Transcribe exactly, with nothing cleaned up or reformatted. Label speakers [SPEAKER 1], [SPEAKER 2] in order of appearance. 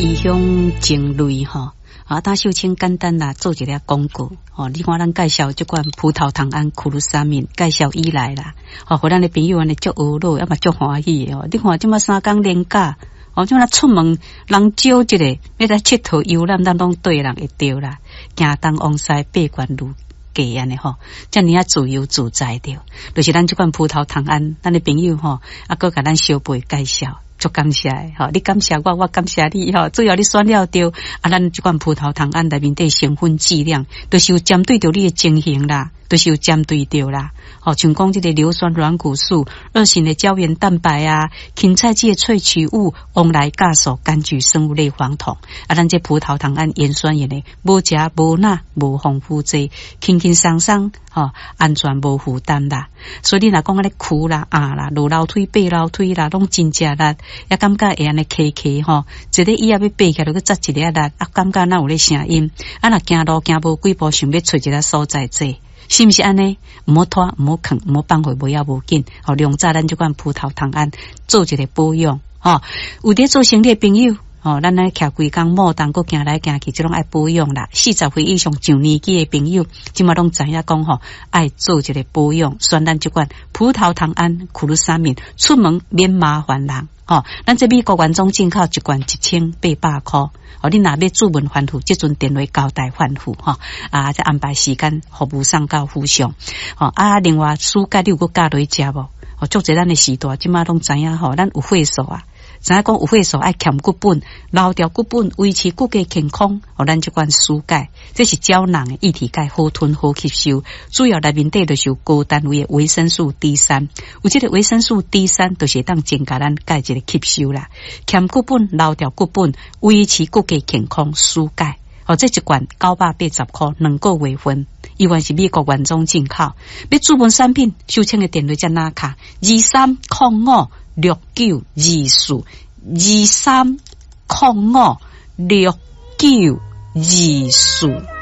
[SPEAKER 1] 異鄉情淚吼。啊，焦秀清簡單啦，做一个廣告。吼，你看咱介紹這款葡萄糖胺苦魯沙敏，介紹以來啦，吼，予咱的朋友按呢足懊惱，猶嘛足歡喜的哦。你看這馬三工連假，哦，這馬出門人少一个，欲來𨑨迌遊覽，咱攏綴人會著啦。行東往西八關如計按呢吼，遮爾仔自由自在著，就是咱這款葡萄糖胺，咱的朋友吼，啊，閣共咱相背介紹。足感謝的吼，你感謝我，我感謝你吼。主要你選了著，啊，咱這款葡萄糖胺內面底成分劑量，就是有針對著你的情形啦，就是有針對著啦。吼，像講這个硫酸軟骨素、二型的膠原蛋白啊、芹菜籽的萃取物、黃來酵素、柑橘生物類黃酮，啊，咱這葡萄糖胺鹽酸鹽的，無食無鈉無防腐劑，輕輕鬆鬆，吼，安全無負擔啦。所以你若講按呢跍啦、壓啦、落樓梯、爬樓梯啦，攏真食力，也感覺會按呢磕磕吼，一个椅仔欲爬起來，就閣扎一个力，啊，感覺若有咧聲音，啊，若行路行無幾步，想欲揣一个所在坐。是毋是按呢？毋好拖，毋好囥，毋好放予無要無緊。吼，量早咱這款葡萄糖胺做一个保養，吼，有佇做生意的朋友，吼，咱來徛規工耄動，閣行來行去，這攏愛保養啦。四十歲以上上年紀的朋友，這馬攏知影講吼，愛做一个保養，選咱這款葡萄糖胺苦魯沙敏，出門免麻煩人。吼，咱這美國原裝進口一罐一千八百箍。哦，你若欲注文反覆，這陣電話交代反覆吼，啊，再安排時間服務送到府上。吼，啊，另外暑假你有閣加落去食無？哦，足濟咱的時代，這馬攏知影吼，咱有歲數啊。知影講有歲數愛儉骨本，留著骨本，維持骨骼健康。哦，咱這款舒鈣，這是膠囊的液體鈣，好吞好吸收。主要內面底就是有高單位的維生素 D 三，有這個維生素 D 三，就是會當增加咱鈣質的吸收啦。儉骨本，留著骨本，維持骨骼健康，舒鈣。哦，這一罐九百八十箍，兩個月份，依然是美國原裝進口。欲注文產品，秀清的電話遮哪卡？二三空五六九二四，二三空五六九二四。